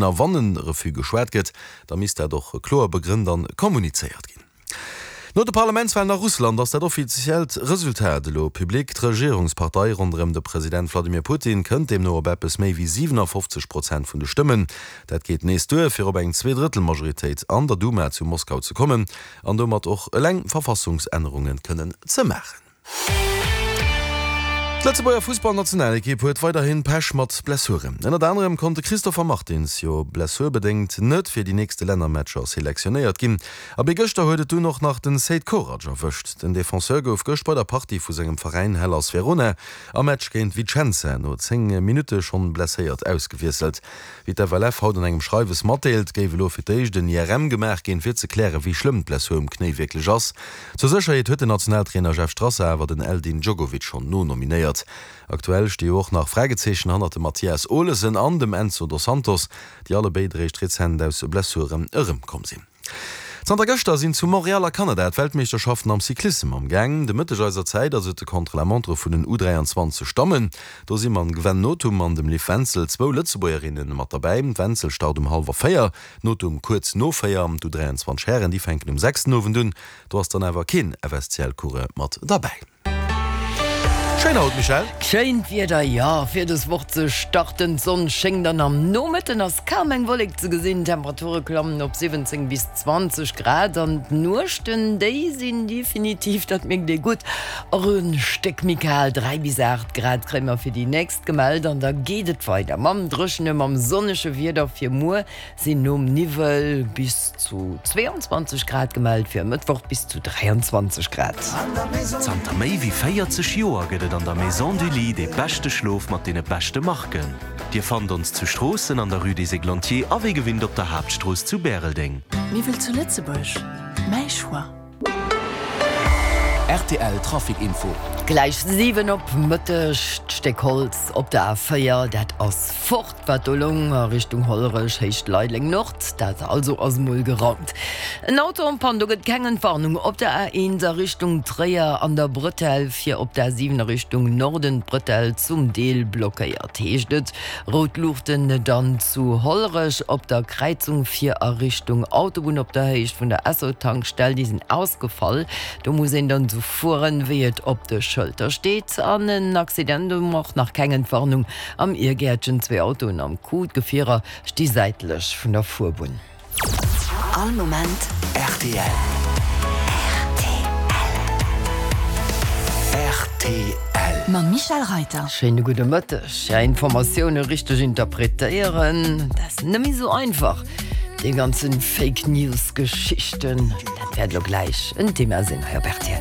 A wann e Refus geschwat gëtt, da misst dat och kloer begrënnt an kommunizéiert ginn. No de Parlamentswalen a Russland ass dat offiziellt Resultat elo public. D'Regierungspartei ronderëm de President Wladimir Putin kënnt deemno op eppes méi wéi 57 Prozent vun de Stëmmen. Dat geet nees duer, fir op eng Zweedrëttelmajoritéit an der Duma zu Moskau ze kommen an domat och eleng Verfassungsännerunge kënnen ze maachen. D'Lëtzebuerger Fussballnationalekipp huet weiderhin Pech mat Blessuren. Ënnert anerem konnt de Christopher Martins jo blessurbedéngt net fir déi nächste Lännermatcher selektionéiert ginn. A bis gëschter huet et dunn och nach den Seid Korac erwëscht. Den Defenseur gouf gëscht bei der Partie vu sengem Veräin Hellas Verona am Match géint Vicenza no 10 Minutte schonn blesséiert ausgewiesselt. Wéi d'FLF haut an engem Schreiwes matdeelt, géif elo fir d'éischt en IRM gemaach ginn, fir ze klären, wéi schlëmm d'Blessur um Knéi wierklech ass. Zur Sécherheet huet den Nationaltrainer Jeff Strasser awer den Eldin Djogovic schonn nonominéiert. Aktuell sti jo och nach Fragezeechen hannert dem Mathias Olesen an dem Enzo Dos Santos, déi allebéid eréischt rezent aus Blessuren erëmkomm sinn. Zanter gëschter sinn zu Montréal a Kanada d'Weltmeeschterschaften am Cyclissem am Gaang. De Mëtteg eiser Zäit ass et de Contre-la-montre vun den U23 Dammen. Do si mam Gwen Nothum an dem Liv Wenzel zwou Lëtzebuergerinne mat derbäi. D'Wenzel start um hallwer 4, d'Nothum kuerz no 4. D'U23 Hären, déi fänken um 6 den Owend un. Do ass dann awer keen FSCL-Coureur mat derbäi. Schéin haut, Michèle. Schéint Wieder, jo, fir des Woch ze starten. D'Sonn schéngt an am Nomëtten ass kaum eng Wollek ze gesinn. D'Temperature klammen op 17 bis 20 Grad an d'Nuechten, déi sinn definitiv, dat mierkt ee gutt, och e Stéck méi kal, 3 bis 8 Grad kréie mer fir déi nächst gemellt. An da geet et weider mam dréchene, mam sonnege Wieder fir muer. Sinn nom Niwwel bis zu 22 Grad gemellt, fir e Mëttwoch bis zu 23 Grad. Zanter méi wéi 40 Joer gëtt et an der Maison du Lit dee beschte Schlof mat deene beschte Marken. Dir fannt ons zu Stroossen an der Rue des Églantiers a wéi gewinnt op der Haaptstrooss zu Bäreldeng. Miwwel zu Lëtzebuerg, mäi Choix. Rtl Trafic Info. Gläich 7 op Mëtteg, D'Stéck Holz op der A4, dat ass fort, wat do loung a Richtung Hollerech, Héicht Leideleng Nord, dat also ass emol geraumt. En Auto en panne, do gëtt keng Entwarnung op der A1 a Richtung Tréier an der Bretelle fir op der A7 a Richtung Norden, d'Bretelle zum Deel blockéiert, heescht et. Rout Luuchten dann zu Hollerech op der Kräizung fir a Richtung Autobunn op der Héicht vun der Esso-Tankstell. Déi sinn ausgefall. Do muss een dann esou fueren, wéi et op de Schëlter steet. An en Accident, do och nach keng Entwarnung am Irgäertchen. Zwee Autoen am Coup, d'Gefierer sti säitlech vun der Fuerbunn. All Moment rtl. Rtl. Mam Michèle Reiter. Schéine gudde Mëtteg. Ja, Informatioune richteg interpretéieren, dat ass net méi esou einfach. Déi ganzen Fake News Geschichten, dat wäert elo gläich en Thema sinn hei op rtl.